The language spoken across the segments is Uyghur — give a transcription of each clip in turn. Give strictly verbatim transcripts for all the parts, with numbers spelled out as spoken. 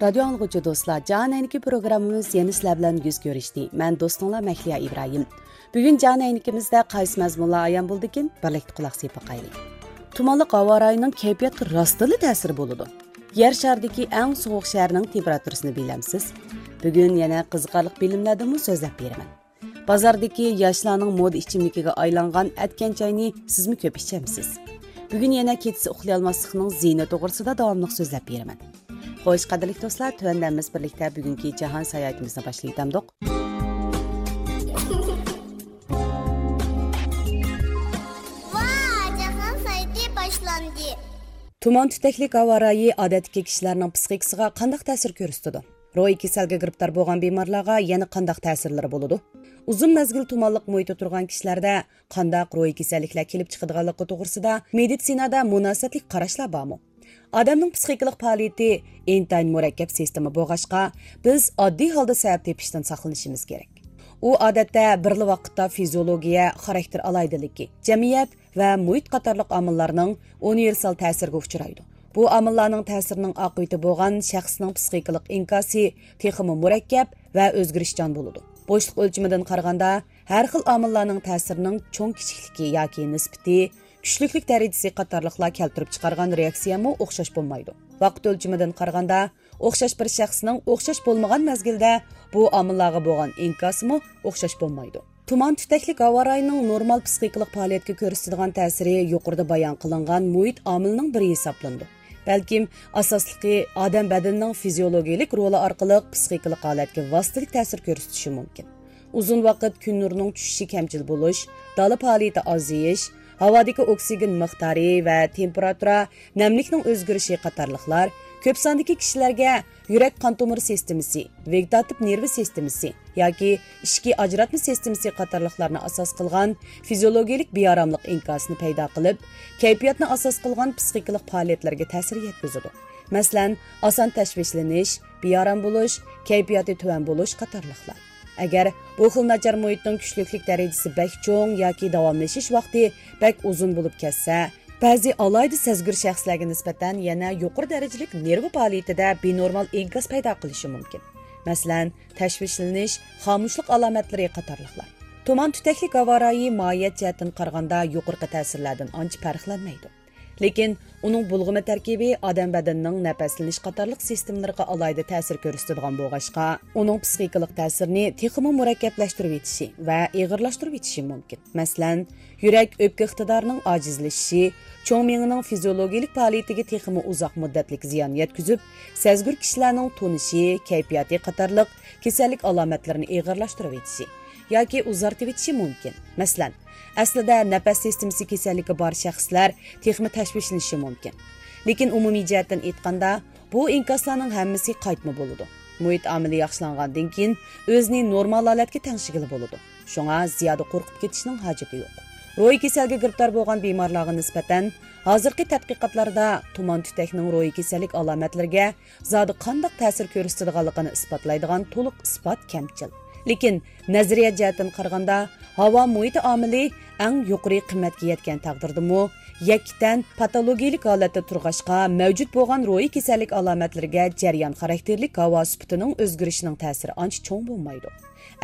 رادىيو ئاڭلىغۇچى دوستلار، جان ئەينىكى پروگراممىمىز يەنە سىلەر بىلەن يۈز كۆرۈشتى. مەن دوستۇڭلار مەھلىيا ئىبراھىم. بۈگۈن جان ئەينىكىمىزدە قايسى مەزمۇنلار ئايان بولدىكىن، بىرلىكتە قۇلاق سېلىپ باقايلى. تۇمانلىق ھاۋا رايىنىڭ كەيپىياتقا راستتىنلا تەسىرى بولىدۇ. يەر شارىدىكى ئەڭ سوغۇق شەھەرنىڭ تېمپېراتۇرىسىنى بىلەمسىز؟ بۈگۈن يەنە قىزىقارلىق بىلىملەردىنمۇ سۆزلەپ بېرىمەن. بازاردىكى ياشلارنىڭ مودا ئىچىملىكىگە ئايلانغان ئەتكەن چاينى سىزمۇ كۆپ ئىچەمسىز؟ بۈگۈن يەنە كېچىسى ئۇخلىيالماسلىقنىڭ زىيىنى توغرىسىدا داۋاملىق سۆزلەپ بېرىمەن. خوش، قەدىرلىك دوستلار، تۆۋەندە ھەممىمىز بىرلىكتە بۈگۈنكى جاھان ساياھىتىمىزنى باشلىۋېتەمدۇق. ۋاي، جاھان ساياھىتى باشلاندى. تۇمان تۈتەكلىك ھاۋا رايى ئادەتتىكى كىشىلەرنىڭ پىسخىكىسىغا قانداق تەسىر كۆرسىتىدۇ؟ روھىي كېسەلگە گىرىپتار بولغان بىمارلارغا يەنە قانداق تەسىرلىرى بولىدۇ؟ ئۇزۇن مەزگىل تۇمانلىق مۇھىتتا تۇرغان كىشىلەردە قانداق روھىي كېسەللىكلەر كېلىپ چىقىدىغانلىقى توغرىسىدا مېدىتسىنادا مۇناسىۋەتلىك قاراشلار بارمۇ؟ ئادەمنىڭ پىسخىكىلىق پائالىيىتى ئىنتايىن مۇرەككەپ سىستېما بولغاچقا، بىز ئاددىي ھالدا سەۋەب تېپىشتىن ساقلىنىشىمىز كېرەك. ئۇ ئادەتتە بىرلا ۋاقىتتا فىزىولوگىيە، خاراكتېر ئالاھىدىلىكى، جەمئىيەت ۋە مۇھىت قاتارلىق ئامىللارنىڭ ئۇنىۋېرسال تەسىرىگە ئۇچرايدۇ. بۇ ئامىللارنىڭ تەسىرىنىڭ ئاقىۋىتى بولغان شەخسنىڭ پىسخىكىلىق ئىنكاسى تېخىمۇ مۇرەككەپ ۋە ئۆزگىرىشچان بولىدۇ. بوشلۇق ئۆلچىمىدىن قارىغاندا، ھەر خىل ئامىللارنىڭ تەسىرىنىڭ چوڭ-كىچىكلىكى ياكى نىسبىتى، كۈچلۈكلۈك دەرىجىسى قاتارلىقلار كەلتۈرۈپ چىقارغان رېئاكسىيەمۇ ئوخشاش بولمايدۇ. ۋاقىت ئۆلچىمىدىن قارىغاندا، ئوخشاش بىر شەخسنىڭ ئوخشاش بولمىغان مەزگىلدە بۇ ئامىللارغا بولغان ئىنكاسىمۇ ئوخشاش بولمايدۇ. تۇمان تۈتەكلىك ھاۋا رايىنىڭ نورمال پىسخىكىلىق پائالىيەتكە كۆرسىتىدىغان تەسىرى يۇقىرىدا بايان قىلىنغان مۇھىت ئامىلىنىڭ بىرى ھېسابلىنىدۇ. بەلكىم ئاساسلىقى ئادەم بەدىنىنىڭ فىزىيولوگىيىلىك رولى ئارقىلىق پىسخىكىلىق ھالەتكە ۋاسىتىلىك تەسىر كۆرسىتىشى مۇمكىن. ئۇزۇن ۋاقىت كۈن نۇرىنىڭ چۈشۈشى كەمچىل بولۇش، دالا پائالىيىتى ئازىيىش، ھاۋادىكى ئوكسىگېن مىقدارى ۋە تېمپېراتۇرا، نەملىكنىڭ ئۆزگىرىشى قاتارلىقلار كۆپ ساندىكى كىشىلەرگە يۈرەك قان تومۇر سىستېمىسى، ۋېگېتاتىپ نېرۋا سىستېمىسى ياكى ئىچكى ئاجراتما سىستېمىسى قاتارلىقلارنى ئاساس قىلغان فىزىيولوگىيىلىك بىئاراملىق ئىنكاسىنى پەيدا قىلىپ، كەيپىياتنى ئاساس قىلغان پىسخىكىلىق پائالىيەتلەرگە تەسىر يەتكۈزىدۇ. مەسىلەن، ئاسان تەشۋىشلىنىش، بىئارام بولۇش، كەيپىياتى تۆۋەن بولۇش قاتارلىقلار. ئەگەر بۇ خىل ناچار مۇھىتنىڭ كۈچلۈكلۈك دەرىجىسى بەك چوڭ ياكى داۋاملىشىش ۋاقتى بەك ئۇزۇن بولۇپ كەتسە، بەزى ئالاھىدە سەزگۈر شەخسلەرگە نىسبەتەن يەنە يۇقىرى دەرىجىلىك نېرۋا پائالىيىتىدە بىنورمال ئىنكاس پەيدا قىلىشى مۇمكىن. مەسىلەن، تەشۋىشلىنىش، خامۇشلۇق ئالامەتلىرى قاتارلىقلار. تۇمان تۈتەكلىك ھاۋا رايى ماھىيەت جەھەتتىن قارىغاندا يۇقىرىقى تەسىرلەردىن ئانچە پەرقلەنمەيدۇ. لېكىن ئۇنىڭ بۇلغىما تەركىبى ئادەم بەدىنىنىڭ نەپەسلىنىش قاتارلىق سىستېمىلىرىغا ئالاھىدە تەسىر كۆرسىتىدىغان بولغاچقا، ئۇنىڭ پىسخىكىلىق تەسىرىنى تېخىمۇ مۇرەككەپلەشتۈرۈۋېتىشى ۋە ئېغىرلاشتۇرۇۋېتىشى مۇمكىن. مەسىلەن، يۈرەك ئۆپكە ئىقتىدارىنىڭ ئاجىزلىشىشى، چوڭ مېڭىنىڭ فىزىيولوگىيىلىك پائالىيىتىگە تېخىمۇ ئۇزاق مۇددەتلىك زىيان يەتكۈزۈپ، سەزگۈر كىشىلەرنىڭ تونۇشى، كەيپىياتى قاتارلىق كېسەللىك ئالامەتلىرىنى ئېغىرلاشتۇرۇۋېتىشى ياكى ئۇزارتىۋېتىشى مۇمكىن. مەسىلەن، ئەسلىدە نەپەس سىستېمىسى كېسەللىكى بار شەخسلەر تېخىمۇ تەشۋىشلىنىشى مۇمكىن. لېكىن ئومۇمىي جەھەتتىن ئېيتقاندا، بۇ ئىنكاسلارنىڭ ھەممىسى قايتما بولىدۇ. مۇھىت ئامىلى ياخشىلانغاندىن كېيىن ئۆزىنى نورمال ھالەتكە تەڭشىگىلى بولىدۇ. شۇڭا زىيادە قورقۇپ كېتىشنىڭ ھاجىتى يوق. روھىي كېسەلگە گىرىپتار بولغان بىمارلارغا نىسبەتەن، ھازىرقى تەتقىقاتلاردا تۇمان تۈتەكنىڭ روھىي كېسەللىك ئالامەتلىرىگە زادى قانداق تەسىر كۆرسىتىدىغانلىقىنى ئىسپاتلايدىغان تولۇق ئىسپات كەمچىل. لېكىن نەزەرىيە جەھەتتىن قارىغاندا، ھاۋا مۇھىتى ئامىلى ئەڭ يۇقىرى قىممەتكە يەتكەن تەقدىردىمۇ، يەككە تەن پاتولوگىيىلىك ھالەتتە تۇرغاچقا، مەۋجۇت بولغان روھىي كېسەللىك ئالامەتلىرىگە جەريان خاراكتېرلىك ھاۋا سۈپىتىنىڭ ئۆزگىرىشىنىڭ تەسىرى ئانچە چوڭ بولمايدۇ.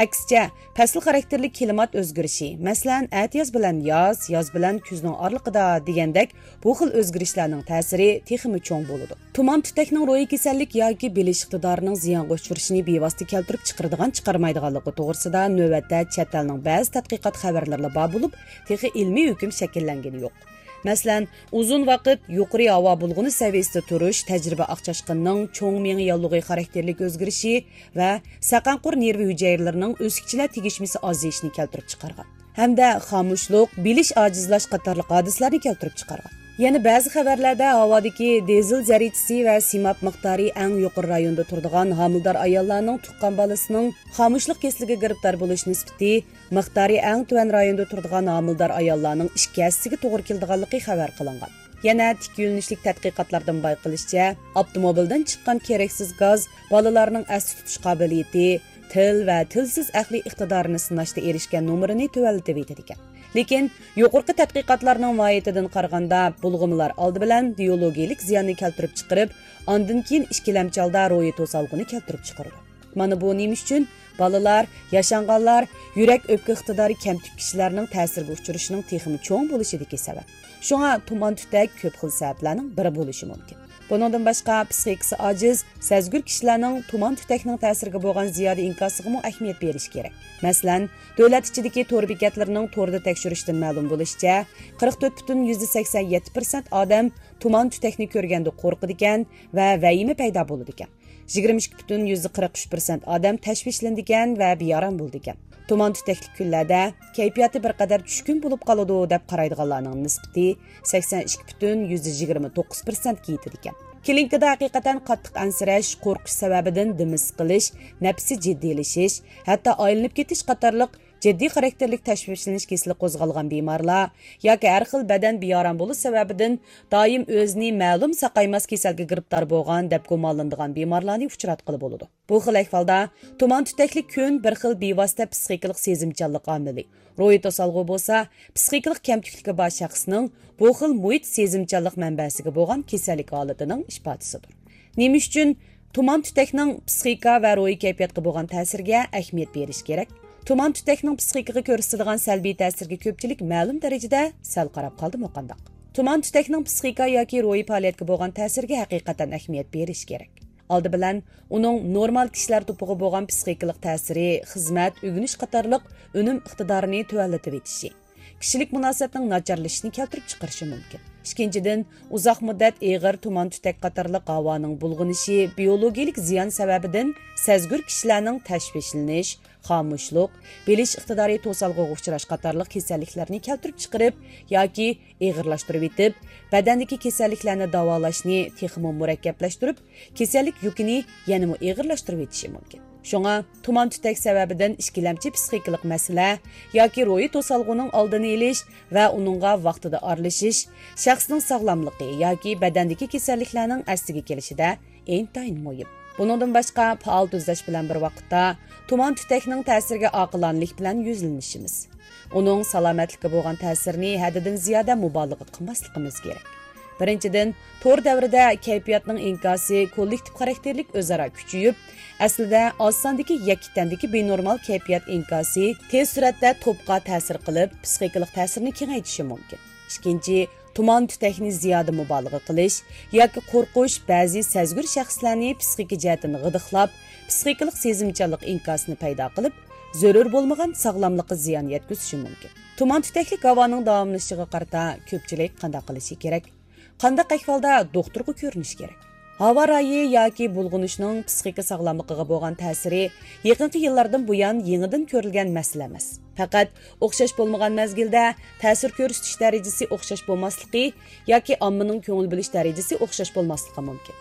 ئەكسىچە، پەسىل خاراكتېرلىك كىلىمات ئۆزگىرىشى، مەسىلەن، ئەتىياز بىلەن ياز، ياز بىلەن كۈزنىڭ ئارىلىقىدا دېگەندەك، بۇ خىل ئۆزگىرىشلەرنىڭ تەسىرى تېخىمۇ چوڭ بولىدۇ. تۇمان تۈتەكنىڭ روھىي كېسەللىك ياكى بىلىش ئىقتىدارىنىڭ زىيانغا ئۇچرىشىنى بىۋاسىتە كەلتۈرۈپ چىقىرىدىغان چىقارمايدىغانلىقى توغرىسىدا نۆۋەتتە چەت ئەلنىڭ بەزى تەتقىقات خەۋەرلىرىلا بار بولۇپ، تېخى ئىلمىي ھۆكۈم شەكىللەنگىنى يوق. مەسىلەن، ئۇزۇن ۋاقىت يۇقىرى ھاۋا بۇلغىنى سەۋىيەسىدە تۇرۇش تەجرىبە ئاق چاشقىنىنىڭ چوڭ مېڭە ياللۇغى خاراكتېرلىك ئۆزگىرىشى ۋە سەقەنقۇر نېرۋا ھۈجەيرىلىرىنىڭ ئۆسكۈچىلەر تېگىشمىسى ئازىيىشىنى كەلتۈرۈپ چىقارغان ھەمدە خامۇشلۇق، بىلىش ئاجىزلاش قاتارلىق ھادىسىلەرنى كەلتۈرۈپ چىقارغان. يەنە بەزى خەۋەرلەردە ھاۋادىكى دىزېل زەررىچىسى ۋە سىماب مىقدارى ئەڭ يۇقىرى رايوندا تۇرىدىغان ھامىلىدار ئاياللارنىڭ تۇغقان بالىسىنىڭ خامۇشلۇق كېسىلىگە گىرىپتار بولۇش نىسبىتى مىقدارى ئەڭ تۆۋەن رايوندا تۇرىدىغان ھامىلىدار ئاياللارنىڭ ئىككى ھەسسىسىگە توغرا كېلىدىغانلىقى خەۋەر قىلىنغان. يەنە تىك يۆنىلىشلىك تەتقىقاتلاردىن بايقىلىشىچە، ئاپتوموبىلدىن چىققان كېرەكسىز گاز بالىلارنىڭ ئەستە تۇتۇش قابىلىيىتى، تىل ۋە تىلسىز ئەقلىي ئىقتىدارىنى سىناشتا ئېرىشكەن نومۇرىنى تۆۋەنلىتىۋېتىدىكەن. لېكىن يۇقىرىقى تەتقىقاتلارنىڭ ماھىيىتىدىن قارىغاندا، بۇلغىمىلار ئالدى بىلەن بىيولوگىيىلىك زىياننى كەلتۈرۈپ چىقىرىپ، ئاندىن كېيىن ئىككىلەمچى ھالدا روھىي توسالغۇنى كەلتۈرۈپ چىقىرىدۇ. مانا بۇ نېمە ئۈچۈن؟ بالىلار، ياشانغانلار، يۈرەك ئۆپكە ئىقتىدارى كەمتۈك كىشىلەرنىڭ تەسىرگە ئۇچرىشىنىڭ تېخىمۇ چوڭ بولۇشىدىكى سەۋەب. شۇڭا تۇمان تۈتەك كۆپ خىل سەۋەبلەرنىڭ بىرى بولۇشى مۇمكىن. بۇنىڭدىن باشقا، پىسخىكىسى ئاجىز، سەزگۈر كىشىلەرنىڭ تۇمان تۈتەكنىڭ تەسىرىگە بولغان زىيادە ئىنكاسىغىمۇ ئەھمىيەت بېرىش كېرەك. مەسىلەن، دۆلەت ئىچىدىكى تور بېكەتلىرىنىڭ توردا تەكشۈرۈشىدىن مەلۇم بولۇشىچە، قىرىق تۆت پۈتۈن يۈزدە سەكسەن يەتتە پىرسەنت ئادەم تۇمان تۈتەكنى كۆرگەندە قورقىدىكەن ۋە ۋەھىمە پەيدا بولىدىكەن. يىگىرمە ئىككى پۈتۈن يۈزدە قىرىق ئۈچ پىرسەنت ئادەم تەشۋىشلىنىدىكەن ۋە بىئارام بولىدىكەن. تۇمان تۈتەكلىك كۈنلەردە كەيپىياتى بىر قەدەر چۈشكۈن بولۇپ قالىدۇ، دەپ قارايدىغانلارنىڭ نىسبىتى سەكسەن ئىككى پۈتۈن يۈزدە يىگىرمە توققۇز پىرسەنتكە يېتىدىكەن. كلىنىكىدا ھەقىقەتەن قاتتىق ئەنسىرەش، قورقۇش سەۋەبىدىن دېمى سىقىلىش، نەپىسى جىددىيلىشىش، ھەتتا ئايلىنىپ كېتىش قاتارلىق جىددىي خاراكتېرلىك تەشۋىشلىنىش كېسىلى قوزغالغان بىمارلار ياكى ھەر خىل بەدەن بىئارام بولۇش سەۋەبىدىن دائىم ئۆزىنى مەلۇم ساقايماس كېسەلگە گىرىپتار بولغان دەپ گۇمانلىنىدىغان بىمارلارنى ئۇچراتقىلى بولىدۇ. بۇ خىل ئەھۋالدا تۇمان تۈتەكلىك كۈن بىر خىل بىۋاسىتە پىسخىكىلىق سېزىمچانلىق ئامىلى، روھىي توسالغۇ بولسا پىسخىكىلىق كەمتۈكلۈكى بار شەخسنىڭ بۇ خىل مۇھىت سېزىمچانلىق مەنبەسىگە بولغان كېسەللىك ھالىتىنىڭ ئىپادىسىدۇر. نېمە ئۈچۈن تۇمان تۈتەكنىڭ پىسخىكا ۋە روھىي كەيپىياتقا بولغان تەسىرىگە ئەھمىيەت بېرىش كېرەك؟ تۇمان تۈتەكنىڭ پىسخىكىغا كۆرسىتىدىغان سەلبىي تەسىرىگە كۆپچىلىك مەلۇم دەرىجىدە سەل قاراپ قالدىمۇ قانداق؟ تۇمان تۈتەكنىڭ پىسخىكا ياكى روھىي پائالىيەتكە بولغان تەسىرىگە ھەقىقەتەن ئەھمىيەت بېرىش كېرەك. ئالدى بىلەن ئۇنىڭ نورمال كىشىلەر توپىغا بولغان پىسخىكىلىق تەسىرى، خىزمەت، ئۆگىنىش قاتارلىق ئۈنۈم ئىقتىدارىنى تۆۋەنلىتىۋېتىشى، كىشىلىك مۇناسىۋەتنىڭ ناچارلىشىشىنى كەلتۈرۈپ چىقىرىشى مۇمكىن. ئىككىنچىدىن، ئۇزاق مۇددەت ئېغىر تۇمان تۈتەك قاتارلىق ھاۋانىڭ بۇلغىنىشى، بىيولوگىيىلىك زىيان سەۋەبىدىن سەزگۈر كىشىلەرنىڭ تەشۋىشلىنىش، خامۇشلۇق، بىلىش ئىقتىدارى توسالغۇغا ئۇچراش قاتارلىق كېسەللىكلەرنى كەلتۈرۈپ چىقىرىپ ياكى ئېغىرلاشتۇرۇۋېتىپ، بەدەندىكى كېسەللىكلەرنى داۋالاشنى تېخىمۇ مۇرەككەپلەشتۈرۈپ، كېسەللىك يۈكىنى يەنىمۇ ئېغىرلاشتۇرۇۋېتىشى مۇمكىن. شۇڭا، تۇمان تۈتەك سەۋەبىدىن ئىككىلەمچى پىسخىكىلىق مەسىلە ياكى روھىي توسالغۇنىڭ ئالدىنى ئېلىش ۋە ئۇنىڭغا ۋاقتىدا ئارىلىشىش، شەخسنىڭ ساغلاملىقى ياكى بەدەندىكى كېسەللىكلەرنىڭ ئەسلىگە كېلىشىدە ئىنتايىن مۇھىم. بۇنىڭدىن باشقا، پائال تۈزەش بىلەن بىر ۋاقىتتا تۇمان تۈتەكنىڭ تەسىرىگە ئاقىلانىلىك بىلەن يۈزلىنىشىمىز، ئۇنىڭ سالامەتلىككە بولغان تەسىرىنى ھەددىدىن زىيادە مۇبالىغە قىلماسلىقىمىز كېرەك. بىرىنچىدىن، تور دەۋرىدە كەيپىياتنىڭ ئىنكاسى كوللېكتىپ خاراكتېرلىك ئۆزئارا كۈچىيىپ، ئەسلىدە ئاز ساندىكى يەككە تەندىكى بىنورمال كەيپىيات ئىنكاسى تېز سۈرئەتتە توپقا تەسىر قىلىپ، پىسخىكىلىق تەسىرنى كېڭەيتىشى مۇمكىن. ئىككىنچى، تۇمان تۈتەكنى زىيادە مۇبالىغە قىلىش ياكى قورقۇش بەزى سەزگۈر شەخسلەرنى پىسخىكا جەھەتتىن غىدىقلاپ، پىسخىكىلىق سېزىمچانلىق ئىنكاسىنى پەيدا قىلىپ، زۆرۈر بولمىغان ساغلاملىققا زىيان يەتكۈزۈشى مۇمكىن. تۇمان تۈتەكلىك ھاۋانىڭ داۋاملىشىشىغا قارىتا كۆپچىلىك قانداق قىلىشى كېرەك؟ قانداق ئەھۋالدا دوختۇرغا كۆرۈنۈش كېرەك؟ ھاۋا رايى ياكى بۇلغىنىشنىڭ پىسخىكا ساغلاملىقىغا بولغان تەسىرى يېقىنقى يىللاردىن بۇيان يېڭىدىن كۆرۈلگەن مەسىلە ئەمەس. پەقەت ئوخشاش بولمىغان مەزگىلدە تەسىر كۆرسىتىش دەرىجىسى ئوخشاش بولماسلىقى ياكى ئاممىنىڭ كۆڭۈل بۆلۈش دەرىجىسى ئوخشاش بولماسلىقى مۇمكىن.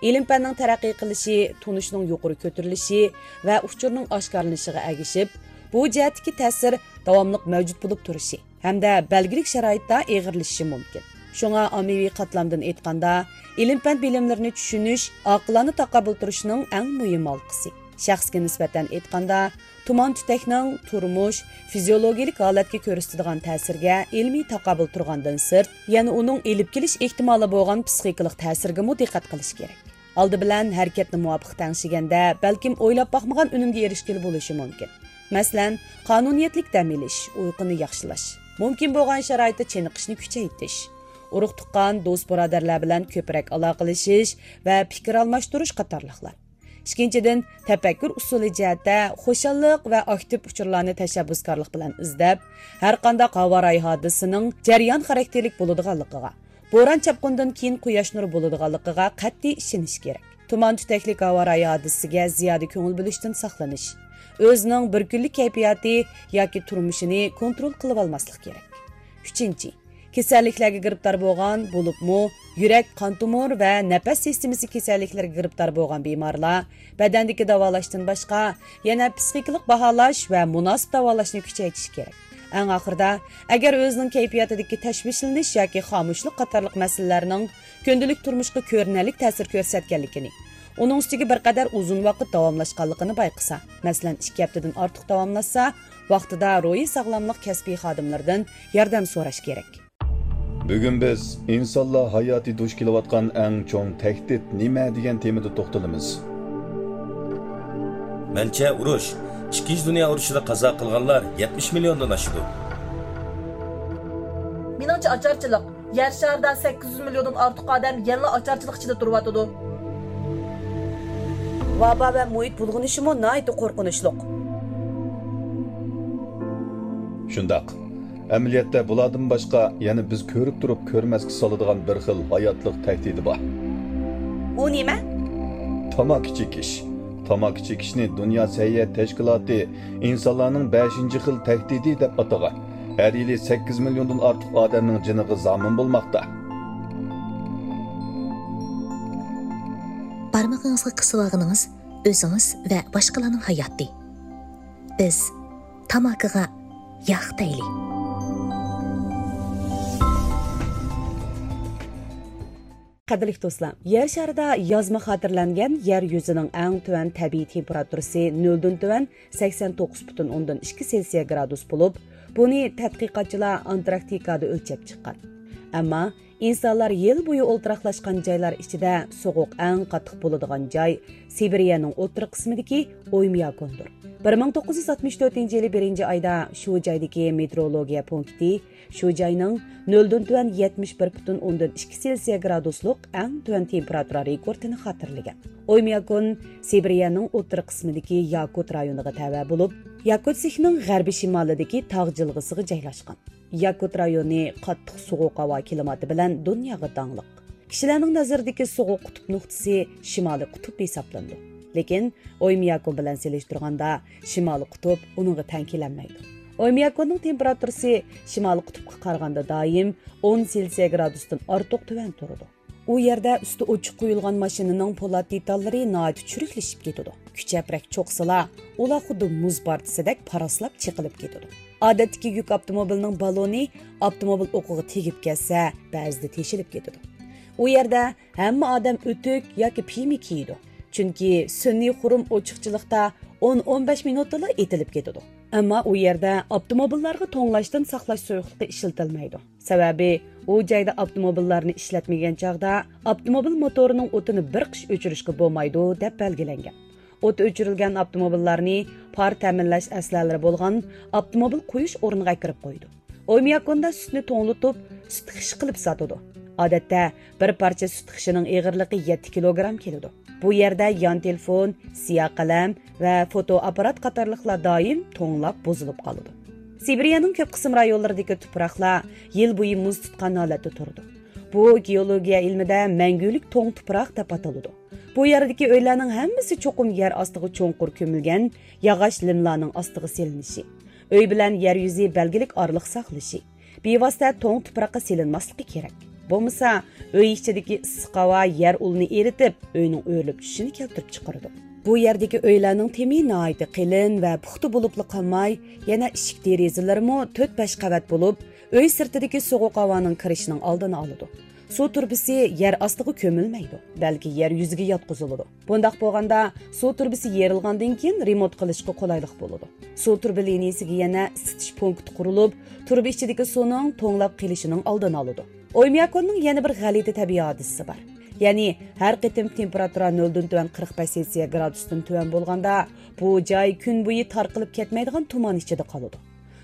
ئىلىم-پەننىڭ تەرەققىي قىلىشى، تونۇشنىڭ يۇقىرى كۆتۈرۈلۈشى ۋە ئۇچۇرنىڭ ئاشكارىلىنىشىغا ئەگىشىپ، بۇ جەھەتتىكى تەسىر داۋاملىق مەۋجۇت بولۇپ تۇرۇشى ھەمدە بەلگىلىك شارائىتتا ئېغىرلىشىشى مۇمكىن. شۇڭا ئاممىۋى قاتلامدىن ئېيتقاندا، ئىلىم-پەن بىلىملىرىنى چۈشىنىش، ئاقىلانە تاقابىل تۇرۇشنىڭ ئەڭ مۇھىم ھالقىسى. شەخسكە نىسبەتەن ئېيتقاندا، تۇمان تۈتەكنىڭ تۇرمۇش، فىزىيولوگىيىلىك ھالەتكە كۆرسىتىدىغان تەسىرىگە ئىلمىي تاقابىل تۇرغاندىن سىرت، يەنە ئۇنىڭ ئېلىپ كېلىش ئېھتىمالى بولغان پىسخىكىلىق تەسىرگىمۇ دىققەت قىلىش كېرەك. ئالدى بىلەن ھەرىكەتنى مۇۋاپىق تەڭشىگەندە، بەلكىم ئويلاپ باقمىغان ئۈنۈمگە ئېرىشكىلى بولۇشى مۇمكىن. مەسىلەن، قانۇنىيەتلىك دەم ئېلىش، ئۇيقۇنى ياخشىلاش، مۇمكىن بولغان شارائىتتا چېنىقىشنى كۈچەيتىش، ئۇرۇق-تۇغقان، دوست-بۇرادەرلەر بىلەن كۆپرەك ئالاقىلىشىش ۋە پىكىر ئالماشتۇرۇش قاتارلىقلار. ئىككىنچىدىن، تەپەككۇر ئۇسۇلى جەھەتتە خۇشاللىق ۋە ئاكتىپ ئۇچۇرلارنى تەشەببۇسكارلىق بىلەن ئىزدەپ، ھەرقانداق ھاۋا رايى ھادىسىسىنىڭ جەريان خاراكتېرلىك بولىدىغانلىقىغا، بوران-چاپقۇندىن كېيىن قۇياش نۇرى بولىدىغانلىقىغا قەتئىي ئىشىنىش كېرەك. تۇمان تۈتەكلىك ھاۋا رايى ھادىسىسىگە زىيادە كۆڭۈل بۆلۈشتىن ساقلىنىش، ئۆزىنىڭ بىر كۈنلۈك كەيپىياتى ياكى تۇرمۇشىنى كونترول قىلىۋالماسلىق كېرەك. ئۈچىنچى، كېسەللىكلەرگە گىرىپتار بولغان، بولۇپمۇ يۈرەك، قان تومۇر ۋە نەپەس سىستېمىسى كېسەللىكلىرىگە گىرىپتار بولغان بىمارلار بەدەندىكى داۋالاشتىن باشقا، يەنە پىسخىكىلىق باھالاش ۋە مۇناسىپ داۋالاشنى كۈچەيتىشى كېرەك. ئەڭ ئاخىرىدا، ئەگەر ئۆزىنىڭ كەيپىياتىدىكى تەشۋىشلىنىش ياكى خامۇشلۇق قاتارلىق مەسىلىلەرنىڭ كۈندىلىك تۇرمۇشقا كۆرۈنەرلىك تەسىر كۆرسەتكەنلىكىنى، ئۇنىڭ ئۈستىگە بىر قەدەر ئۇزۇن ۋاقىت داۋاملاشقانلىقىنى بايقىسا، مەسىلەن، ئىككى ھەپتىدىن ئارتۇق داۋاملاشسا، ۋاقتىدا روھىي ساغلاملىق كەسپىي خادىملىرىدىن ياردەم سوراش كېرەك. بۈگۈن بىز ئىنسانلار ھاياتى دۇچ كېلىۋاتقان ئەڭ چوڭ تەھدىت نېمە دېگەن تېمىدا توختىلىمىز. مەنچە ئۇرۇش، ئىككىنچى دۇنيا ئۇرۇشىدا قازا قىلغانلار يەتمىش مىليوندىن ئاشىدۇ. مېنىڭچە ئاچارچىلىق. يەر شارىدا سەككىز يۈز مىليوندىن ئارتۇق ئادەم يەنىلا ئاچارچىلىق ئىچىدە تۇرۇۋاتىدۇ. ۋابا ۋە مۇھىت بۇلغىنىشىمۇ ناھايىتى قورقۇنچلۇق. شۇنداق. ئەمەلىيەتتە بۇلاردىن باشقا يەنە بىز كۆرۈپ تۇرۇپ كۆرمەسكە سالىدىغان بىر خىل ھاياتلىق تەھدىتى بار. ئۇ نېمە؟ تاماكا چېكىش. تاماكا چېكىشنى دۇنيا سەھىيە تەشكىلاتى ئىنسانلارنىڭ بەشىنچى خىل تەھدىتى دەپ ئاتىغان. ھەر يىلى سەككىز مىليوندىن ئارتۇق ئادەمنىڭ جېنىغا زامىن بولماقتا. بارمىقىڭىزغا قىسىۋالغىنىڭىز ئۆزىڭىز ۋە باشقىلارنىڭ ھاياتى. بىز تاماكىغا ياق دەيلى. قەدىرلىك دوستلار، يەر شارىدا يازما خاتىرىلەنگەن يەر يۈزىنىڭ ئەڭ تۆۋەن تەبىئىي تېمپېراتۇرىسى نۆلدىن تۆۋەن سەكسەن توققۇز پۈتۈن ئوندىن ئىككى سېلسىيە گرادۇس بولۇپ، بۇنى تەتقىقاتچىلار ئانتاركتىكادا ئۆلچەپ چىققان. ئەمما ئىنسانلار يىل بويى ئولتۇراقلاشقان جايلار ئىچىدە سوغۇق ئەڭ قاتتىق بولىدىغان جاي سىبىرىيەنىڭ ئوتتۇرا قىسمىدىكى ئويمياكوندۇر. بىر مىڭ توققۇز يۈز ئاتمىش تۆتىنچى يىلى بىرىنچى ئايدا شۇ جايدىكى مېتېئورولوگىيە پونكىتى شۇ جاينىڭ نۆلدىن تۆۋەن يەتمىش بىر پۈتۈن ئوندىن ئىككى سېلسىيە گرادۇسلۇق ئەڭ تۆۋەن تېمپېراتۇرا رېكورتىنى خاتىرىلىگەن. ئويمياكون سىبىرىيەنىڭ ئوتتۇرا قىسمىدىكى ياكۇت رايونىغا تەۋە بولۇپ، ياكۇت سىخنىڭ غەربىي شىمالىدىكى تاغ جىلغىسىغا جايلاشقان. ياكۇت رايونى قاتتىق سوغۇق ھاۋا كىلىماتى بىلەن دۇنياغا داڭلىق. كىشىلەرنىڭ نەزىرىدىكى سوغۇق قۇتۇپ نۇقتىسى شىمالىي قۇتۇپ ھېسابلىنىدۇ. لېكىن ئويمياكون بىلەن سېلىشتۇرغاندا شىمالىي قۇتۇپ ئۇنىڭغا تەڭ كېلەلمەيدۇ. ئويمياكوننىڭ تېمپېراتۇرىسى شىمالىي قۇتۇپقا قارىغاندا دائىم ئون سېلسىيە گرادۇستىن ئارتۇق تۆۋەن تۇرىدۇ. ئۇ يەردە ئۈستى ئوچۇق قويۇلغان ماشىنىنىڭ پولات دېتاللىرى ناھايىتى چۈرۈكلىشىپ كېتىدۇ. كۈچەپرەك چوقسىلا، ئۇلار خۇددى مۇز پارچىسىدەك پاراسلاپ چېقىلىپ كېتىدۇ. ئادەتتىكى يۈك ئاپتوموبىلىنىڭ بالونى ئاپتوموبىل ئوقىغا تېگىپ كەتسە، بەزىدە تېشىلىپ كېتىدۇ. ئۇ يەردە ھەممە ئادەم ئۆتۈك ياكى پىيما كىيىدۇ، چۈنكى سۈنئىي خۇرۇم ئوچۇقچىلىقتا ئون، ئون بەش مىنۇتتىلا ئېتىلىپ كېتىدۇ. ئەمما ئۇ يەردە ئاپتوموبىللارغا توڭلاشتىن ساقلاش سۇيۇقلۇقى ئىشلىتىلمەيدۇ. سەۋەبى، ئۇ جايدا ئاپتوموبىللارنى ئىشلەتمىگەن چاغدا ئاپتوموبىل موتورىنىڭ ئوتىنى بىر قىش ئۆچۈرۈشكە بولمايدۇ، دەپ بەلگىلەنگەن. ئوتى ئۆچۈرۈلگەن ئاپتوموبىللارنى پار تەمىنلەش ئەسلىھەلىرى بولغان ئاپتوموبىل قويۇش ئورنىغا ئەكىرىپ قويىدۇ. ئويمياكوندا سۈتنى توڭلىتىپ، سۈت خىشى قىلىپ ساتىدۇ. ئادەتتە بىر پارچە سۈت خىشىنىڭ ئېغىرلىقى يەتتە كىلوگرام كېلىدۇ. بۇ يەردە يان تېلېفون، سىياھ قەلەم ۋە فوتو ئاپپارات قاتارلىقلار دائىم توڭلاپ بۇزۇلۇپ قالىدۇ. سىبىرىيەنىڭ كۆپ قىسىم رايونلىرىدىكى تۇپراقلار يىل بويى مۇز تۇتقان ھالەتتە تۇرىدۇ. بۇ گېئولوگىيە ئىلمىدە مەڭگۈلۈك توڭ تۇپراق دەپ ئاتىلىدۇ. بۇ يەردىكى ئۆيلەرنىڭ ھەممىسى چوقۇم يەر ئاستىغا چوڭقۇر كۆمۈلگەن ياغاچ لىملارنىڭ ئاستىغا سېلىنىشى، ئۆي بىلەن يەر يۈزى بەلگىلىك ئارىلىق ساقلىشى، بىۋاسىتە توڭ تۇپراققا سېلىنماسلىقى كېرەك. بولمىسا، ئۆي ئىچىدىكى ئىسسىق ھاۋا يەر ئۇلىنى ئېرىتىپ، ئۆينىڭ ئۆرۈلۈپ چۈشۈشىنى كەلتۈرۈپ چىقىرىدۇ. بۇ يەردىكى ئۆيلەرنىڭ تېمى ناھايىتى قېلىن ۋە پۇختا بولۇپلا قالماي، يەنە ئىشىك دېرىزىلىرىمۇ تۆت-بەش قەۋەت بولۇپ، ئۆي سىرتىدىكى سوغۇق ھاۋانىڭ كىرىشىنىڭ ئالدىنى ئالىدۇ. سۇ تۇرۇبىسى يەر ئاستىغا كۆمۈلمەيدۇ، بەلكى يەر يۈزىگە ياتقۇزۇلىدۇ. بۇنداق بولغاندا، سۇ تۇرۇبىسى يېرىلغاندىن كېيىن رېمونت قىلىشقا قولايلىق بولىدۇ. سۇ تۇرۇبا لىنىيىسىگە يەنە ئىسسىتىش پونكىتى قۇرۇلۇپ، تۇرۇبا ئىچىدىكى سۇنىڭ توڭلاپ قېلىشىنىڭ ئالدىنى ئالىدۇ. ئويمياكوننىڭ يەنە بىر غەلىتە تەبىئىي ھادىسىسى بار. يەنى، ھەر قېتىم تېمپېراتۇرا نۆلدىن تۆۋەن قىرىق بەش سېلسىيە گرادۇستىن تۆۋەن بولغاندا، بۇ جاي كۈن بويى تارقىلىپ كەتمەيدىغان تۇمان ئىچىدە قالىدۇ.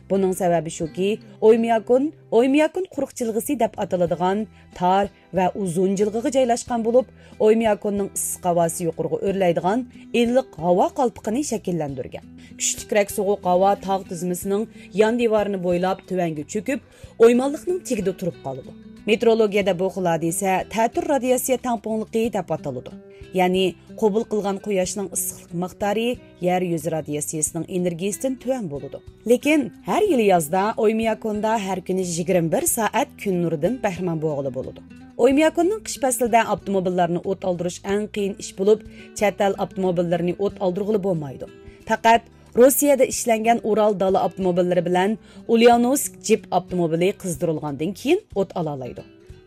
بۇنىڭ سەۋەبى شۇكى، ئويمياكون، ئويمياكون قۇرۇق جىلغىسى دەپ ئاتىلىدىغان تار ۋە ئۇزۇن جىلغىغا جايلاشقان بولۇپ، ئويمياكوننىڭ ئىسسىق ھاۋاسى يۇقىرىغا ئۆرلەيدىغان ئىللىق ھاۋا قالپىقىنى شەكىللەندۈرگەن. كۈچلۈكرەك سوغۇق ھاۋا تاغ تىزمىسىنىڭ يان دىۋارىنى بويلاپ تۆۋەنگە چۆكۈپ، ئويمانلىقنىڭ تېگىدە تۇرۇپ قالىدۇ. مېتېئورولوگىيەدە بۇ خىل ھادىسە تەتۈر رادىياتسىيە تەڭپۇڭلۇقى دەپ ئاتىلىدۇ. يەنى، قوبۇل قىلغان قۇياشنىڭ ئىسسىقلىق مىقدارى يەر يۈزى رادىياتسىيەسىنىڭ ئېنېرگىيىسىدىن تۆۋەن بولىدۇ. لېكىن ھەر يىلى يازدا ئويمياكوندا ھەر كۈنى يىگىرمە بىر سائەت كۈن نۇرىدىن بەھرىمەن بولغىلى بولىدۇ. ئويمياكوننىڭ قىش پەسلىدە ئاپتوموبىللارنى ئوت ئالدۇرۇش ئەڭ قىيىن ئىش بولۇپ، چەت ئەل ئاپتوموبىللىرىنى ئوت ئالدۇرغىلى بولمايدۇ. پەقەت روسىيەدە ئىشلەنگەن ئۇرال دالا ئاپتوموبىللىرى بىلەن ئۇليانوۋسك جىپ ئاپتوموبىلى قىزدۇرۇلغاندىن كېيىن ئوت ئالالايدۇ.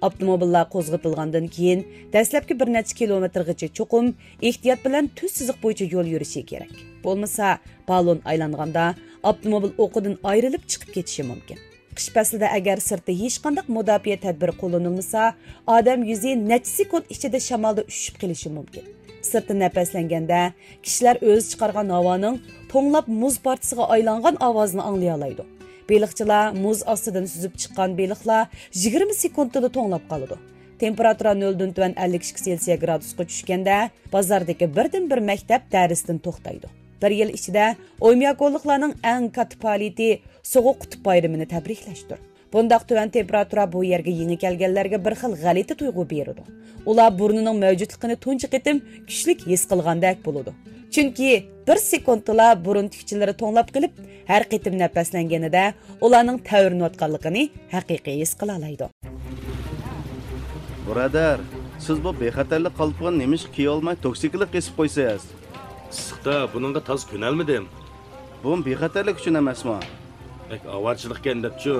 ئاپتوموبىللار قوزغىتىلغاندىن كېيىن، دەسلەپكى بىر نەچچە كىلومېتىرغىچە چوقۇم ئېھتىيات بىلەن تۈز سىزىق بويىچە يول يۈرۈشى كېرەك. بولمىسا، بالون ئايلانغاندا ئاپتوموبىل ئوقىدىن ئايرىلىپ چىقىپ كېتىشى مۇمكىن. قىش پەسلىدە ئەگەر سىرتتا ھېچقانداق مۇداپىئە تەدبىرى قوللىنىلمىسا، ئادەم يۈزى نەچچە سېكۇنت ئىچىدە شامالدا ئۈشۈپ قېلىشى مۇمكىن. سىرتتا نەپەسلەنگەندە، كىشىلەر ئۆزى چىقارغان ھاۋانىڭ توڭلاپ مۇز پارچىسىغا ئايلانغان ئاۋازىنى ئاڭلىيالايدۇ. بېلىقچىلار مۇز ئاستىدىن سۈزۈپ چىققان بېلىقلار يىگىرمە سېكۇنتتىلا توڭلاپ قالىدۇ. تېمپېراتۇرا نۆلدىن تۆۋەن ئەللىك ئىككى سېلسىيە گرادۇسقا چۈشكەندە، بازاردىكى بىردىن بىر مەكتەپ دەرستىن توختايدۇ. بىر يىل ئىچىدە ئويمىياكونلۇقلارنىڭ ئەڭ كاتتا پائالىيىتى سوغۇق قۇتۇپ بايرىمىنى تەبرىكلەشتۇر. بۇنداق تۆۋەن تېمپېراتۇرا بۇ يەرگە يېڭى كەلگەنلەرگە بىر خىل غەلىتە تۇيغۇ بېرىدۇ. ئۇلار بۇرنىنىڭ مەۋجۇتلۇقىنى تۇنجى قېتىم كۈچلۈك ھېس قىلغاندەك بولىدۇ. چۈنكى بىر سېكۇنتتىلا بۇرۇن تۈكچىلىرى توڭلاپ قېلىپ، ھەر قېتىم نەپەسلەنگىنىدە ئۇلارنىڭ تەۋرىنىۋاتقانلىقىنى ھەقىقىي ھېس قىلالايدۇ. بۇرادەر، سىز بۇ بىخەتەرلىك قالپىقىنى نېمىشقا كىيىۋالماي توكسىكلىق قېسىپ قويىسىز؟ ئىسسىقتا بۇنىڭغا تازا كۆنەلمىدىم. بۇمۇ بىخەتەرلىك ئۈچۈن ئەمەسمۇ؟ بەك ئاۋارىچىلىقكەن دەپچۇ،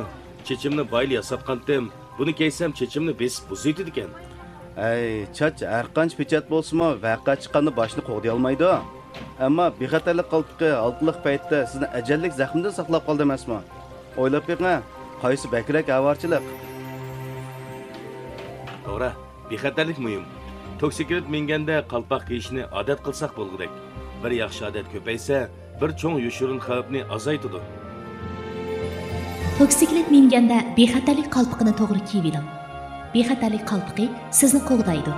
چېچىمنى بايىلا ياساتقانتىم. بۇنى كىيسەم چېچىمنى بېسىپ بۇزۇۋېتىدىكەن. ئەي، چاچ ھەرقانچە پېچەت بولسىمۇ، ۋەقە چىققاندا باشنى قوغدىيالمايدۇ. ئەمما بىخەتەرلىك قالپىقى ھالقىلىق پەيتتە سىزنى ئەجەللىك زەخمىدىن ساقلاپ قالدى ئەمەسمۇ؟ ئويلاپ بېقىڭ، قايسى بەكرەك ئاۋارىچىلىق؟ توغرا، بىخەتەرلىك مۇھىم. توكسىكلىت مىنگەندە قالپاق كىيىشنى ئادەت قىلساق بولغۇدەك. بىر ياخشى ئادەت كۆپەيسە، بىر چوڭ يوشۇرۇن خەۋپنى ئازايتىدۇ. توكسىكلىت مىنگەندە بىخەتەرلىك قالپىقىنى توغرا كىيىۋېلىڭ. بىخەتەرلىك قالپىقى سىزنى قوغدايدۇ.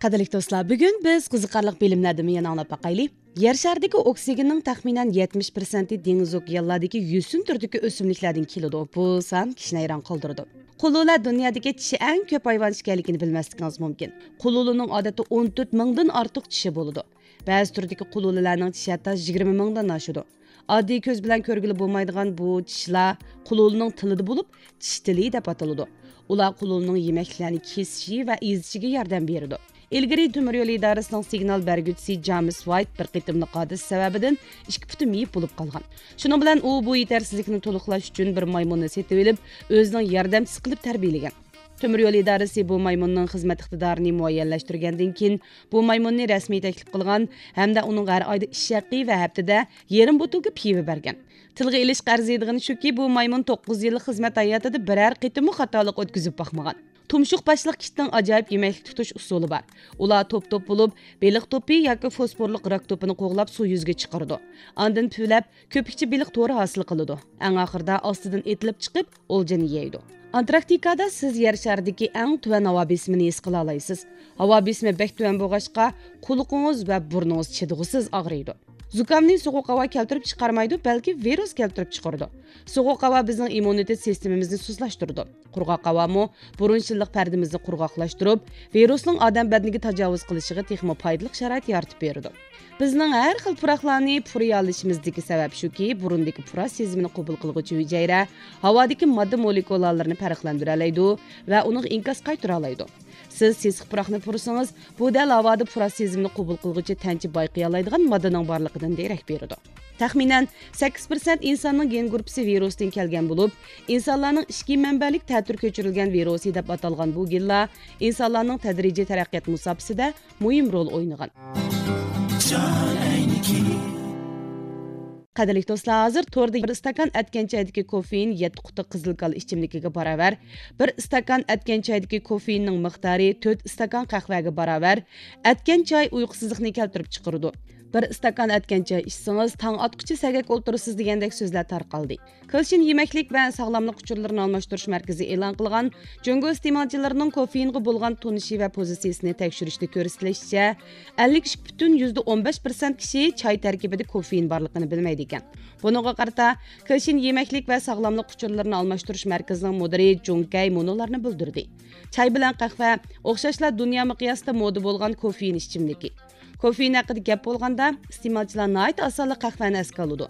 قەدىرلىك دوستلار، بۈگۈن بىز قىزىقارلىق بىلىملەردىنمۇ يەنە ئاڭلاپ باقايلى. يەر شارىدىكى ئوكسىگېننىڭ تەخمىنەن يەتمىش پىرسەنتى دېڭىز ئوكيانلاردىكى يۈسۈن تۈرىدىكى ئۆسۈملۈكلەردىن كېلىدۇ. بۇ سان كىشىنى ھەيران قالدۇرىدۇ. قۇلۇلە دۇنيادىكى چىشى ئەڭ كۆپ ھايۋان چىشى ئىكەنلىكىنى بىلمەسلىكىڭىز مۇمكىن. قۇلۇلىنىڭ ئادەتتە ئون تۆت مىڭدىن ئارتۇق چىشى بولىدۇ. بەزى تۈردىكى قۇلۇلىلەرنىڭ چىشى ھەتتا يىگىرمە مىڭدىن ئاشىدۇ. ئاددىي كۆز بىلەن كۆرگىلى بولمايدىغان بۇ چىشلار قۇلۇلىنىڭ تىلىدا بولۇپ، چىش تىلى دەپ ئاتىلىدۇ. ئۇلار قۇلۇلىنىڭ يېمەكلىكلەرنى كېسىشى ۋە ئېزىشىگە ياردەم بېرىدۇ. ئىلگىرى تۆمۈر يول ئىدارىسىنىڭ سىگنال بەرگۈچىسى جامېس ۋايت بىر قېتىملىق ھادىسە سەۋەبىدىن ئىككى پۇتى مېيىپ بولۇپ قالغان. شۇنىڭ بىلەن ئۇ بۇ يېتەرسىزلىكنى تولۇقلاش ئۈچۈن بىر مايمۇننى سېتىۋېلىپ، ئۆزىنىڭ ياردەمچىسى قىلىپ تەربىيەلىگەن. تۆمۈر يول ئىدارىسى بۇ مايمۇننىڭ خىزمەت ئىقتىدارىنى مۇئەييەنلەشتۈرگەندىن كېيىن، بۇ مايمۇننى رەسمىي تەكلىپ قىلغان ھەمدە ئۇنىڭغا ھەر ئايدا ئىش ھەققى ۋە ھەپتىدە يېرىم بوتۇلكا پىۋا بەرگەن. تىلغا ئېلىشقا ئەرزىيدىغىنى شۇكى، بۇ مايمۇن توققۇز يىللىق خىزمەت ھاياتىدا بىرەر قېتىممۇ خاتالىق ئۆتكۈزۈپ باقمىغان. تۇمشۇق باشلىق كىتنىڭ ئاجايىپ يېمەكلىك تۇتۇش ئۇسۇلى بار. ئۇلار توپ-توپ بولۇپ، بېلىق توپى ياكى فوسفورلۇق راك توپىنى قوغلاپ سۇ يۈزىگە چىقىرىدۇ. ئاندىن پۈۋلەپ، كۆپۈكچە بېلىق تورى ھاسىل قىلىدۇ. ئەڭ ئاخىرىدا ئاستىدىن ئېتىلىپ چىقىپ، ئولجىنى يەيدۇ. ئانتاركتىكادا سىز يەر شارىدىكى ئەڭ تۆۋەن ھاۋا بېسىمىنى ھېس قىلالايسىز. ھاۋا بېسىمى بەك تۆۋەن بولغاچقا، قۇلىقىڭىز ۋە بۇرنىڭىز چىدىغۇسىز ئاغرىيدۇ. زۇكامنى سوغۇق ھاۋا كەلتۈرۈپ چىقارمايدۇ، بەلكى ۋىرۇس كەلتۈرۈپ چىقىرىدۇ. سوغۇق ھاۋا بىزنىڭ ئىممۇنىتېت سىستېمىمىزنى سۇسلاشتۇرىدۇ. قۇرغاق ھاۋامۇ بۇرۇن شىللىق پەردىمىزنى قۇرغاقلاشتۇرۇپ، ۋىرۇسنىڭ ئادەم بەدىنىگە تاجاۋۇز قىلىشىغا تېخىمۇ پايدىلىق شارائىت يارىتىپ بېرىدۇ. بىزنىڭ ھەر خىل پۇراقلارنى پۇرىيالىشىمىزدىكى سەۋەب شۇكى، بۇرۇندىكى پۇراق سېزىمىنى قوبۇل قىلغۇچى ھۈجەيرە ھاۋادىكى ماددا مولېكۇلالىرىنى پەرقلەندۈرەلەيدۇ ۋە ئۇنىڭغا ئىنكاس قايتۇرالايدۇ. سىز سېسىق پۇراقنى پۇرىسىڭىز، بۇ دەل ھاۋادا پۇراق سېزىمىنى قوبۇل قىلغۇچى تەنچە بايقىيالايدىغان ماددىنىڭ بارلىقىدىن دېرەك بېرىدۇ. تەخمىنەن سەككىز پىرسەنت ئىنساننىڭ گېن گۇرۇپپىسى ۋىرۇستىن كەلگەن بولۇپ، ئىنسانلارنىڭ ئىچكى مەنبەلىك تەتۈر كۆچۈرۈلگەن ۋىرۇسى دەپ ئاتالغان بۇ گېنلار ئىنسانلارنىڭ تەدرىجىي تەرەققىيات مۇساپىسىدە مۇھىم رول ئوينىغان. قەدىرلىك دوستلار، ھازىر توردا بىر ئىستاكان ئەتكەن چايدىكى كوفېئىن يەتتە قۇتا قىزىل كالا ئىچىملىكىگە باراۋەر. بىر ئىستاكان ئەتكەن چايدىكى كوفېئىننىڭ مىقدارى تۆت ئىستاكان قەھۋەگە باراۋەر. ئەتكەن چاي ئۇيقۇسىزلىقنى كەلتۈرۈپ چىقىرىدۇ. بىر ئىستاكان ئەتكەن چاي ئىچسىڭىز، تاڭ ئاتقۇچە سەگەك ئولتۇرىسىز دېگەندەك سۆزلەر تارقالدى. كېلىشىن يېمەكلىك ۋە ساغلاملىق ئۇچۇرلىرىنى ئالماشتۇرۇش مەركىزى ئېلان قىلغان جۇڭگو ئىستېمالچىلىرىنىڭ كوفېئىنغا بولغان تونۇشى ۋە پوزىتسىيىسىنى تەكشۈرۈشتە كۆرسىتىلىشىچە، ئەللىك ئىككى پۈتۈن يۈزدە ئون بەش پىرسەنت كىشى چاي تەركىبىدە كوفېئىن بارلىقىنى بىلمەيدىكەن. بۇنىڭغا قارىتا، كېلىشىن يېمەكلىك ۋە ساغلاملىق ئۇچۇرلىرىنى ئالماشتۇرۇش مەركىزىنىڭ مۇدىرى جۇڭ كەي مۇنۇلارنى بىلدۈردى: چاي بىلەن قەھۋە ئوخشاشلا دۇنيا مىقياسىدا مودا بولغان كوفېئىن ئىچىملىكى. كوفېئىن ھەققىدە گەپ بولغاندا، ئىستېمالچىلار ناھايىتى ئاسانلا قەھۋەنى ئەسكە ئالىدۇ.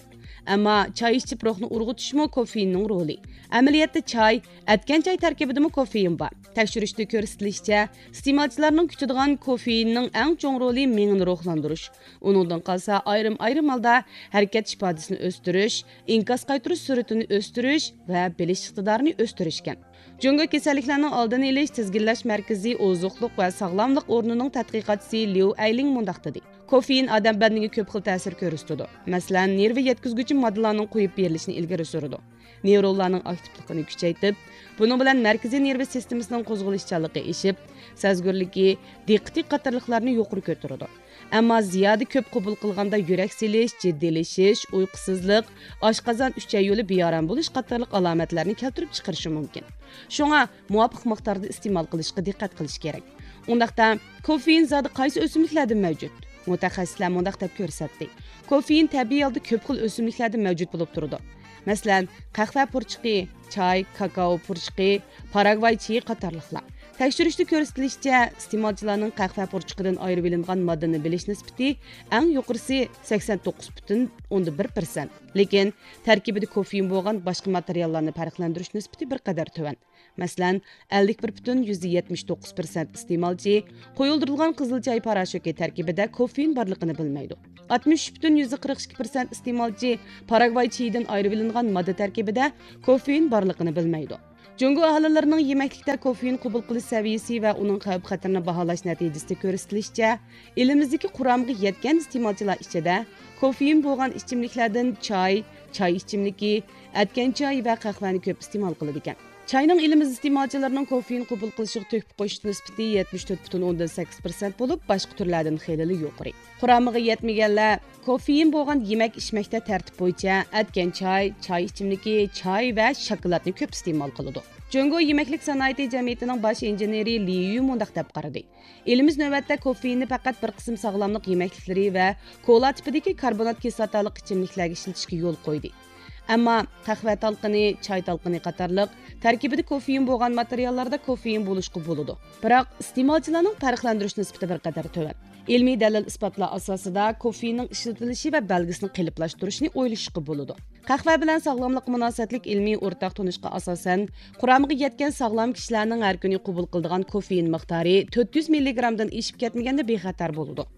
ئەمما چاي ئىچىپ روھنى ئۇرغۇتۇشمۇ كوفېئىننىڭ رولى. ئەمەلىيەتتە چاي، ئەتكەن چاي تەركىبىدىمۇ كوفېئىن بار. تەكشۈرۈشتە كۆرسىتىلىشىچە، ئىستېمالچىلارنىڭ كۈتىدىغان كوفېئىننىڭ ئەڭ چوڭ رولى مېڭىنى روھلاندۇرۇش، ئۇنىڭدىن قالسا ئايرىم-ئايرىم ھالدا ھەرىكەت ئىپادىسىنى ئۆستۈرۈش، ئىنكاس قايتۇرۇش سۈرئىتىنى ئۆستۈرۈش ۋە بىلىش ئىقتىدارىنى ئۆستۈرۈشكەن. جۇڭگو كېسەللىكلەرنىڭ ئالدىنى ئېلىش تىزگىنلەش مەركىزى ئوزۇقلۇق ۋە ساغلاملىق ئورنىنىڭ تەتقىقاتچىسى ليۇ ئەيلىڭ مۇنداق دېدى: كوفېئىن ئادەم بەدىنىگە كۆپ خىل تەسىر كۆرسىتىدۇ. مەسىلەن، نېرۋا يەتكۈزگۈچى ماددىلارنىڭ قويۇپ بېرىلىشىنى ئىلگىرى سۈرىدۇ. نېيرونلارنىڭ ئاكتىپلىقىنى كۈچەيتىپ، بۇنىڭ بىلەن مەركىزىي نېرۋا سىستېمىسىنىڭ قوزغىلىشچانلىقى ئېشىپ، سەزگۈرلۈكى، دىققىتى قاتارلىقلارنى يۇقىرى كۆتۈرىدۇ. ئەمما زىيادە كۆپ قوبۇل قىلغاندا يۈرەك سېلىش، جىددىيلىشىش، ئۇيقۇسىزلىق، ئاشقازان ئۈچەي يولى بىئارام بولۇش قاتارلىق ئالامەتلەرنى كەلتۈرۈپ چىقىرىشى مۇمكىن. شۇڭا مۇۋاپىق مىقداردا ئىستېمال قىلىشقا دىققەت قىلىش كېرەك. ئۇنداقتا، كوفېئىن زادى قايسى ئۆسۈملۈكلەردە مەۋجۇت؟ مۇتەخەسسىسلەر مۇنداق دەپ كۆرسەتتى: كوفېئىن تەبىئىي ھالدا كۆپ خىل ئۆسۈملۈكلەردە مەۋجۇت بولۇپ تۇرىدۇ. مەسىلەن، قەھۋە پۇرچىقى، چاي، كاكائو پۇرچىقى، پاراگۋاي چېيى قاتارلىقلار. تەكشۈرۈشتە كۆرسىتىلىشىچە، ئىستېمالچىلارنىڭ قەھۋە پۇرچىقىدىن ئايرىۋېلىنغان ماددىنى بىلىش نىسبىتى ئەڭ يۇقىرىسى سەكسەن توققۇز پۈتۈن ئوندىن بىر پىرسەنت. لېكىن تەركىبىدە كوفېئىن بولغان باشقا ماتېرىياللارنى پەرقلەندۈرۈش نىسبىتى بىر قەدەر تۆۋەن. مەسىلەن، ئەللىك بىر پۈتۈن يۈزدە يەتمىش توققۇز پىرسەنت ئىستېمالچى قويۇلدۇرۇلغان قىزىل چاي پاراشوكى تەركىبىدە كوفېئىن بارلىقىنى بىلمەيدۇ. ئاتمىش ئۈچ پۈتۈن يۈزدە قىرىق ئىككى پىرسەنت ئىستېمالچى پاراگۋاي چېيىدىن ئايرىۋېلىنغان ماددا تەركىبىدە كوفېئىن بارلىقىنى بىلمەيدۇ. جۇڭگو ئاھالىلىرىنىڭ يېمەكلىكتە كوفېئىن قوبۇل قىلىش سەۋىيىسى ۋە ئۇنىڭ خەۋپ-خەتىرىنى باھالاش نەتىجىسىدە كۆرسىتىلىشىچە، ئېلىمىزدىكى قۇرامىغا يەتكەن ئىستېمالچىلار ئىچىدە كوفېئىن بولغان ئىچىملىكلەردىن چاي، چاي ئىچىملىكى، ئەتكەن چاي ۋە قەھۋەنى كۆپ ئىستېمال قىلىدىكەن. چاينىڭ ئېلىمىز ئىستېمالچىلىرىنىڭ كوفېئىن قوبۇل قىلىشىغا تۆھپە قوشۇش نىسبىتى يەتمىش تۆت پۈتۈن ئوندىن سەككىز پىرسەنت بولۇپ، باشقا تۈرلەردىن خېلىلا يۇقىرى. قۇرامىغا يەتمىگەنلەر كوفېئىن بولغان يېمەك ئىچمەكتە تەرتىپ بويىچە ئەتكەن چاي، چاي ئىچىملىكى، چاي ۋە شاكىلاتنى كۆپ ئىستېمال قىلىدۇ. جۇڭگو يېمەكلىك سانائىتى جەمئىيىتىنىڭ باش ئىنژېنېرى لى يۈ مۇنداق دەپ قارىدى: ئېلىمىز نۆۋەتتە كوفېئىننى پەقەت بىر قىسىم ساغلاملىق يېمەكلىكلىرى ۋە كولا تىپىدىكى كاربونات كىسلاتالىق ئىچىملىكلەرگە ئىشلىتىشكە يول قويدى. ئەمما قەھۋە تالقىنى، چاي تالقىنى قاتارلىق تەركىبىدە كوفېئىن بولغان ماتېرىياللاردا كوفېئىن بولۇشقا بولىدۇ. بىراق، ئىستېمالچىلارنىڭ پەرقلەندۈرۈش نىسبىتى بىر قەدەر تۆۋەن. ئىلمىي دەلىل-ئىسپاتلار ئاساسىدا كوفېئىننىڭ ئىشلىتىلىشى ۋە بەلگىسىنى قېلىپلاشتۇرۇشنى ئويلىشىشقا بولىدۇ. قەھۋە بىلەن ساغلاملىققا مۇناسىۋەتلىك ئىلمىي ئورتاق تونۇشقا ئاساسەن، قۇرامىغا يەتكەن ساغلام كىشىلەرنىڭ ھەر كۈنى قوبۇل قىلىدىغان كوفېئىن مىقدارى تۆت يۈز مىللىگرامدىن ئېشىپ كەتمىگەندە بىخەتەر بولىدۇ.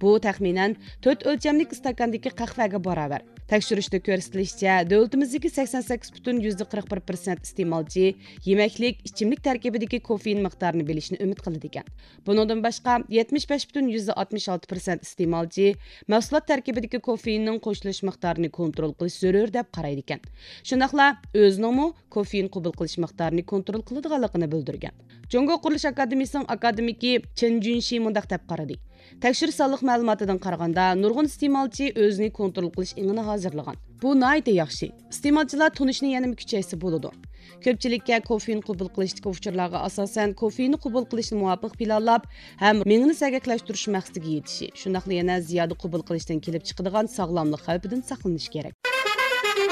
بۇ، تەخمىنەن، تۆت ئۆلچەملىك ئىستاكاندىكى قەھۋەگە باراۋەر. تەكشۈرۈشتە كۆرسىتىلىشىچە، دۆلىتىمىزدىكى سەكسەن سەككىز پۈتۈن يۈزدە قىرىق بىر پىرسەنت ئىستېمالچى يېمەكلىك، ئىچىملىك تەركىبىدىكى كوفېئىن مىقدارىنى بىلىشنى ئۈمىد قىلىدىكەن. بۇنىڭدىن باشقا، يەتمىش بەش پۈتۈن يۈزدە ئاتمىش ئالتە پىرسەنت ئىستېمالچى مەھسۇلات تەركىبىدىكى كوفېئىننىڭ قوشۇلۇش مىقدارىنى كونترول قىلىش زۆرۈر دەپ قارايدىكەن. شۇنداقلا ئۆزىنىڭمۇ كوفېئىن قوبۇل قىلىش مىقدارىنى كونترول قىلىدىغانلىقىنى بىلدۈرگەن. جۇڭگو قۇرۇلۇش ئاكادېمىيىسىنىڭ ئاكادېمىكى چېن جۈنشى مۇنداق دەپ قارىدى: تەكشۈرۈش سانلىق مەلۇماتىدىن قارىغاندا، نۇرغۇن ئىستېمالچى ئۆزىنى كونترول قىلىش ئېڭىنى ھازىرلىغان. بۇ ناھايىتى ياخشى. ئىستېمالچىلار تونۇشنى يەنىمۇ كۈچەيتسە بولىدۇ. كۆپچىلىككە كوفېئىن قوبۇل قىلىشتىكى ئۇچۇرلارغا ئاساسەن، كوفېئىننى قوبۇل قىلىشنى مۇۋاپىق پىلانلاپ ھەم مېڭىنى سەگەكلەشتۈرۈش مەقسىتىگە يېتىشى، شۇنداقلا يەنە زىيادە قوبۇل قىلىشتىن كېلىپ چىقىدىغان ساغلاملىق خەۋپىدىن ساقلىنىش كېرەك.